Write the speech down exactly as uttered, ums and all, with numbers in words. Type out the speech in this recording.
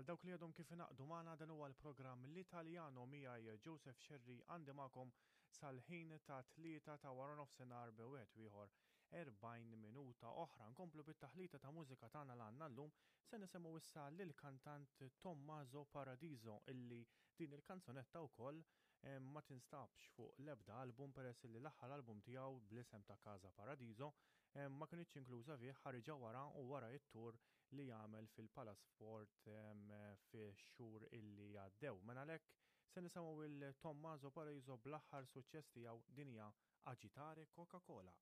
Għal dawk li għadhom kif ingħaqdu magħna, dan huwa l-programm L-Italjano miegħi Joseph Scerri, għandi magħkom sal-ħin ta' tlieta ta' wara nofsinhar bi wieħed ieħor erbgħin minuta oħra. Nkomplu bit-taħlita ta' mużika tagħna l għandna llum. Se nisimgħu issa lill-kantant Tommaso Paradiso, illi din il-kanzunetta wkoll eh, ma tinstabx fuq l-ebda album, peress li l-aħħar album tiegħu bl-isem ta' Casa Paradiso eh, ma kienx inkluża fih, ħariġa wara u wara it-tour li jagħmel fil-Palasport fi xhur illi għaddew. Mela għalhekk se nisimgħu il Tommaso Paradiso bl-aħħar suċċess tiegħu, din hija Agitare Coca-Cola.